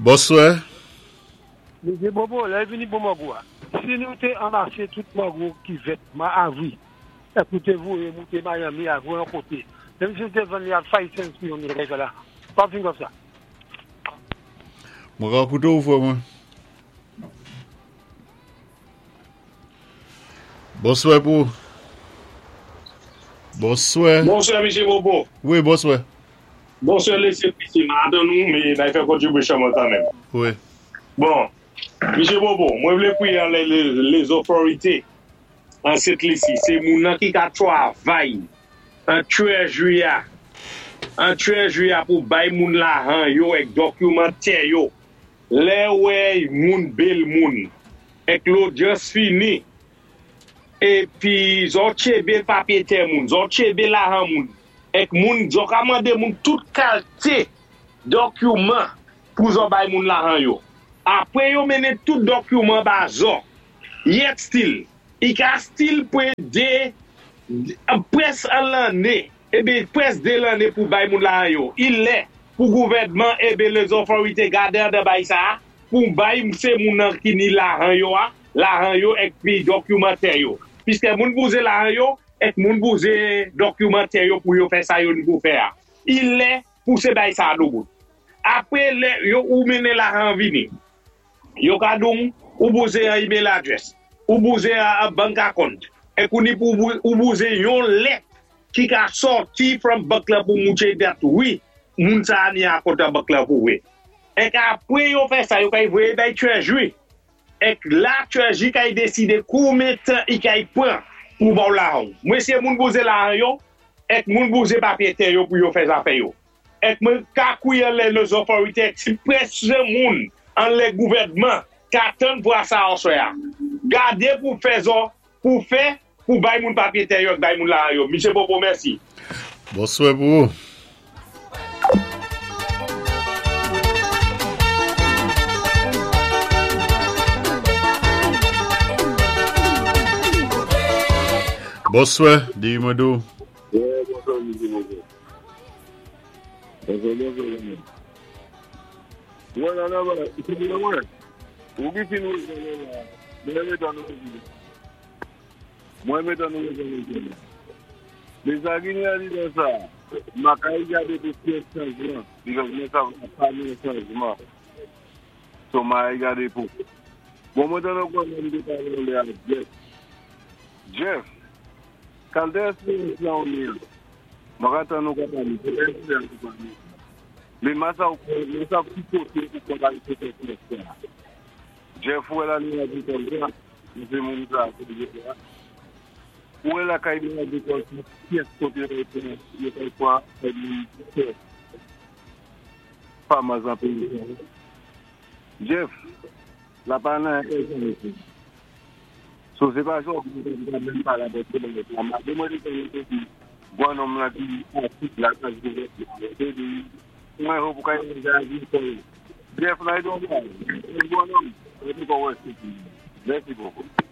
Bonswè. Mesye Bobo, lè vini pou mango a, si nou té anmasé tout mango ki vèt mwa avri, èk nou té voyé mouté Miami avè yon koté, menm si nou té vann li a 5 cents pou yon mil kay la, what think of sa? Mwen ka koute ou frè mwen. Bonswè pou ou. Bonswè. Bonswè Mesye Bobo. Wi, bonswè. Bonswè Lesye Mesye, m atann ou men nay fè contribution mwen kanmenm. Wi. Bon, Mesye Bobo, mwen vle priye anlè les authorités an Sent Lisi, se moun nan ki ka travay an treasury a, an treasury a pou bay moun lahan yo ek document yo. Lè wè moun bail moun ek lodyans fini epi zò tchebe papye tè moun, zò tchebe lahan moun ek moun zò ka mande moun tout kalte dokiman pou zò bay moun lahan yo. Apre yo mennen tout dokiman ba zò, yet still, i ka still pre 2 près 1 lanne Ebe près 2 lanne pou bay moun lahan yo. I lè pou gouvèdman ebe lezòfòrite gade andan bay sa a pou bay se moun nan ki ni lahan yo a, lahan yo èk pi dòkyouman tè yo. Piskè moun bouze lahan yo èk moun bouze dòkyouman tè yo pou yo fè sa yo ni pou fè a. I lè pou se bay sa a doubout. Apre lè yo ou mennen lahan an vini. Yo ka di w ou bouze an email address, ou bouze an bank account, e kouni pou ou bouze yon lèt ki ka sòti from bank la pou mouche dat wi moun sa a ni account an bank la pou vre. Ek apre yo fè sa yo kay voye bay treasury, ek la treasury kay deside koumen tan i kay pran pou ba w lajan w. Mwen se moun bouze lajan yo, ek moun bouze papye tè yo pou yo fè zafè yo. Ek mwen ka kouy anlè les authorités ek si prèske moun anlè gouvèdman ka tann pou asa oswè a. Gade pou fè zò pou fè pou bay moun papye tè yo ek bay moun lajan yo. Misye Popo mèsi. Bonswè pou ou. Bonswè, di mwen di w. Bonswa mesye Popo. Bonjour, bonjour, zanmi. Mwen nan nan ba, se mwen mwen. Ou ki fin wè nan la. Mwen met an nou di. Mwen met an nou di. Men sa ki ni ali nan sa, makay gade pou fè chanjman. Because mwen sa pa ni chanjman. So ma gade pou. Bon mwen tan nou kon nan de pale le a Jeff. Jeff, Kalte esperyans la ou ni. Mwen ka tan nou ka pale, se pa esperyans ou pale. Men masa ou kon, masa ki kote ou kon al fè esperyans sa. Jeff wè la ni agrikòl sa, mwen se moun sa, se Jeff la. Ou wè la kay ni agrikòl sa, pyès kote yo kay pran, yo kay pran kay moun fè farmers nan peyi sa. Jeff, la pa nan kay sa mesye. So se pa jodi mwen ta menm pale avèk yo bagay sa. Malgre mwen te konnen te di gwan nonm lan ki atik la sa di mwen te di mwen hope ou ka yon jan agrikòl. Jeff nan e don bagay. Gwan nonm, mwen te kon wè se. Mèsi bokou.